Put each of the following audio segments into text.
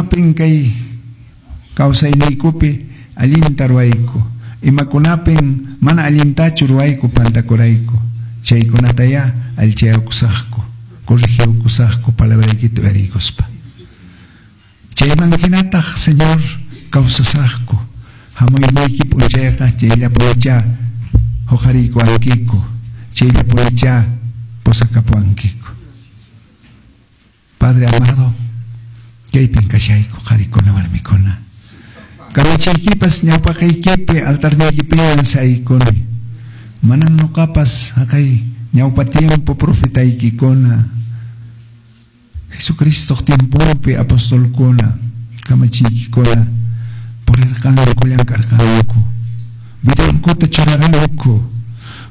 Imapin kay kawsayniykupi allinta ruwayku, imakunapin mana allintachu ruwayku pantakurayku, chaykunatayá allichayukusaqku, corregiyukusaqku palabraykita uyariykuspa. Chayman hinataq, Señor, kawsasaqku, hamuyniyki p'unchayqa chayllapunichá huqariykuwankiku, chayllapunichá pusakapuwankiku. Padre amado, kaypin kashayku qharikuna warmikuna. Kamachiykipas ñawpaqaykipi altarniykipiñan saykuni. Manan nuqapas haqay ñawpa tiempo profetaykikuna, Jesucristoq tiemponpi apostolkuna, kamachiykikuna purirqanku, llank'arqanku, vidankuta churaranku,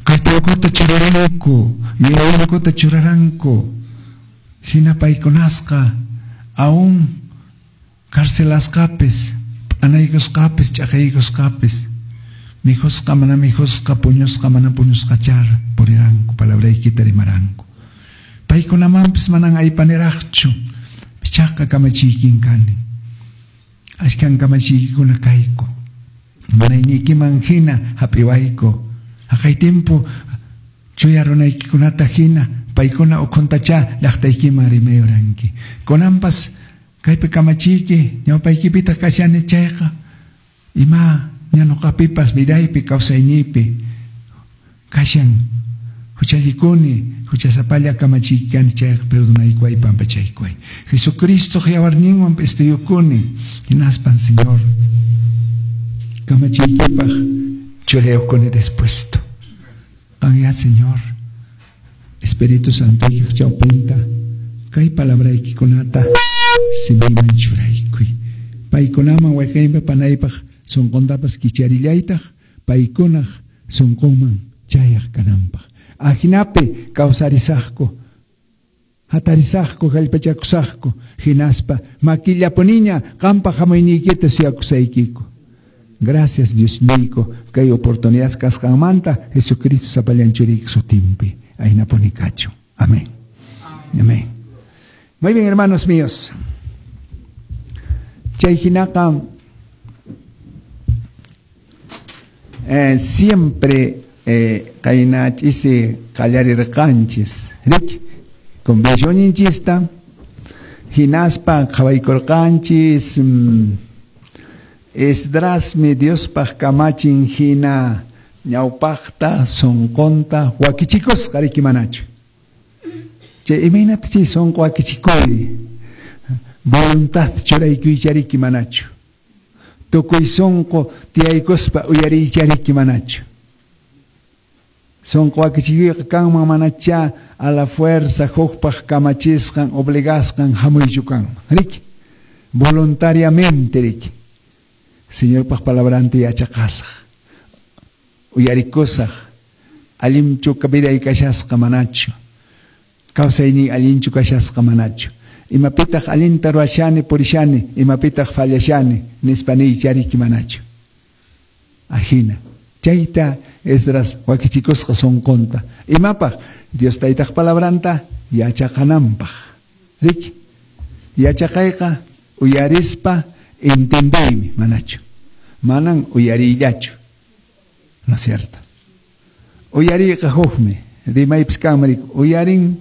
kallpankuta churaranku, yuyayninkuta churaranku. Hina paykunasqa aún carcelasqapis, p'anaykusqapis, ch'aqaykusqapis, mikhusqa mana mikhusqa, puñusqa mana puñusqachar puriranku, palabraykita rimaranku. Paykunamanpis manan aypaniraqchu, ichaqa kamachiykin kani. Ashkan kamachiykikuna kayku. Munayniykiman hina hap'iwayku. Haqay tiempo chuya runaykikunata hina paykuna ukhuntachá llaqtaykiman rimayuranki. Kunanpas kaypi kamachiyki ñawpaykipitaq kashani chayqa ima ña nuqapipas vidaypi kawsayniypi kashan huchallikuni, huchasapalla kamachiyki kani chayqa perdonaykuway, pampachaykuway. Jesucristoq yawarninwan p'istuyukuni, hinaspan Señor kamachiykipaq churayukuni dispuesto. Qanya Señor, Espíritu Santoykiq chawpinta kay palabraykikunata simiyman churaykuy. Paykunaman wayqiypa panaypaq sunquntapas kicharillaytaq paykunaq sunqunman chayaq kananpaq. Ajinapi kawsarisaqku, hatarisaqku, kallpachakusaqku, hinaspa makillapuniña qanpaq hamuyniykita suyakusaykiku. Gracias Diosniyku kay oportunidad kasqanmanta Jesucristo sapallan churiyki sutinpi. Aynapuni kachun. Amén. Amén. Muy bien, hermanos míos. Chay hinaqa siempre qayna ch'isi qallarirqanchis, riki? Convencionninchista hinaspa qhawaykurqanchis Esdrasmi Diospaq kamachin hina ñawpaqta sunqunta wakichikusqa, riki manachu? Chay imaynata chay sunqu wakichikuy voluntad churaykuycha riki manachu? Tukuy sunqu tiyaykuspa uyariycha riki manachu? Sunqu wakichikuyqa kanman manacha a la fuerza hukpaq kamachisqan obligasqan hamuychu kanman, riki? Voluntariamente, riki? Señorpaq palabranta yachaqasaq, uyarikusaq, allinchu viday kashasqa manachu, kawsayniy allinchu kashasqa manachu, imapitaq allinta ruwashani purishani, imapitaq fallashani nispa niycha riki manachu. Ajina, chayta Esdras wakichikusqa sunqunta. Imapaq? Dios taytaq palabranta yachaqananpaq. Riki? Yachaqayqa uyarispa entendeymi, manachu. Manan uyariyllachu. ¿No es cierto? Uyariyqa hukmi, rimaypis kanman riki. Uyarin,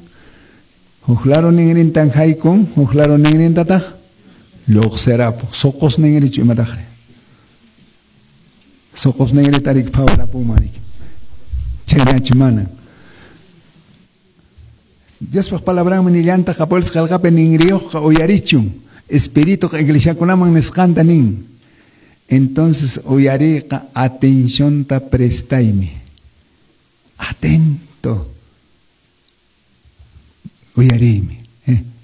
huk lado ninrintan haykun, huk lado ninrintataq lluqsirapuq. Suqus ninrichu imataqri? Suqus ninrita riki phawarapunman riki. Chaynachu manan. Diospaq palabranmi nillantaq Apóstoles qelqapi ninriyuqqa uyarichun. Espirituqa iglesiakunaman nisqanta nin. Entonces uyariyqa atencionta prestaymi. Atento. Uyariymi.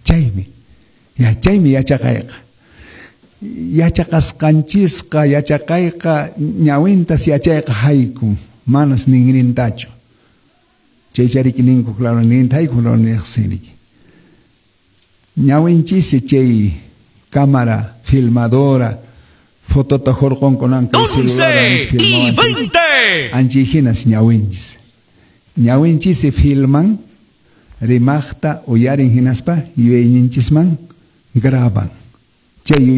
Chaymi. Ya, chaymi yachaqayqa. Yachaqasqanchisqa, yachaqayqa ñawintas yachayqa haykun, manas ninrintachu. Chaychariki ninku, claro, ninrinta haykun, claro, niqsinriki. Ñawinchisi chay cámara filmadora, fotota hurqunkunan kay celular 11 y 20. Anchi hinas ñawinchis. Ñawinchisi filman, rimaqta uyarin hinaspa yuyayninchisman graban. Chay